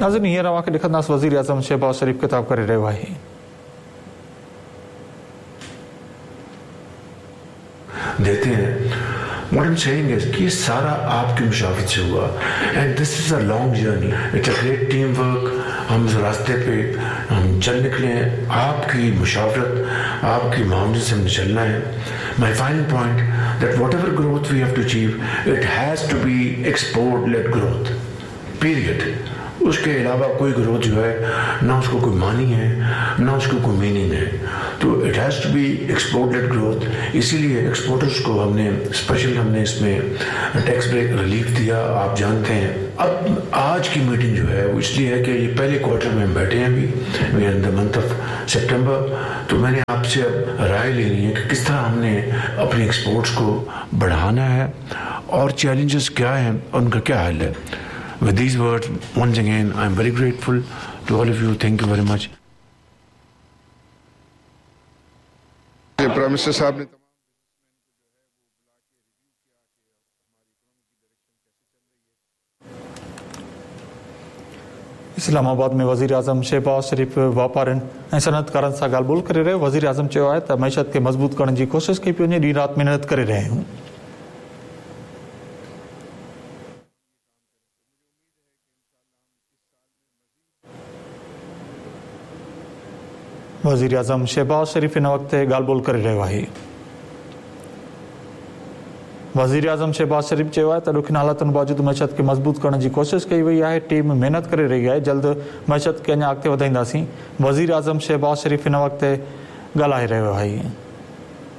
ناظرين هينئر اوهان کي ڏيکارينداسين وزيراعظم شهباز شريف خطاب ڪري رهيو آهي. देते हैं. What I'm saying is कि ये सारा आपकी मुशावरत से हुआ and this is a long journey. It's a great team work. हम इस रास्ते पे हम चल निकले हैं. आपकी मुशावरत, आपकी मुआवनत से हमने चलना है. My final point, that whatever growth we have to achieve, it has to be export led growth, period. उसके अलावा कोई ग्रोथ जो है, ना उसको कोई मानी है, ना उसको कोई मीनिंग है. तो it has to be export led growth. इसीलिए एक्सपोर्टर्स को हमने स्पेशल हमने इसमें टैक्स ब्रेक रिलीफ दिया, आप जानते हैं. अब आज की मीटिंग जो है वो इसलिए है कि ये पहले क्वार्टर में हम बैठे हैं अभी, we are in the month of September. तो मैंने आपसे अब राय लेनी है कि किस तरह हमने अपने एक्सपोर्ट्स को बढ़ाना है और चैलेंजेस क्या हैं और उनका क्या हल है. With these words, once again, I am very grateful to all of you. Thank you very much. Prime minister साहब ने इस्लाम आबाद में वज़ीर आज़म शहबाज शरीफ वापारियुनि ऐं सनअतकारनि सां ॻाल्हि ॿोल करे रहियो. वज़ीर आज़म चयो आहे त मईशत खे मज़बूत करण जी कोशिश कई पई वञे, ॾींहुं राति महिनत करे रहिया आहियूं. वज़ीर आज़म शहबाज शरीफ हिन वक़्त ॻाल्हि ॿोल करे रहियो आहे. वज़ीर आज़म शहबाज शरीफ चयो आहे त ॾुखियनि हालातुनि बावजूद मईशत खे मज़बूत करण जी कोशिश कई वई आहे. टीम महिनत करे रही आहे, जल्द मईशत खे अञा अॻिते वधाईंदासीं. वज़ीर आज़म शहबाज शरीफ हिन वक़्त ॻाल्हाए रहियो आहे.